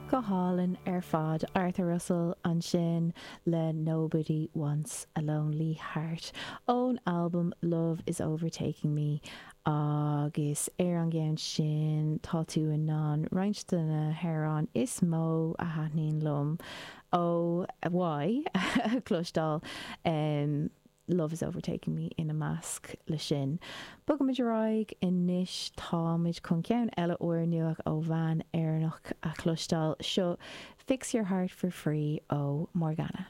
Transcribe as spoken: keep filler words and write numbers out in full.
Go hálainn ar fad Arthur Russell ansin le Nobody Wants a Lonely Heart ón albam Love is Overtaking Me agus ar an gceann sin tá tú in ann roinnt de na hamhráin is mó a thaitníonn liom ó Y cloisteáil um, Love is Overtaking Me ina measc le sin. Bogaimid ar aghaidh anois táimid chun ceann eile úrnua ó bhean Éireannach a chloisteáil seo Fix Your Heart for Free ó Morgana.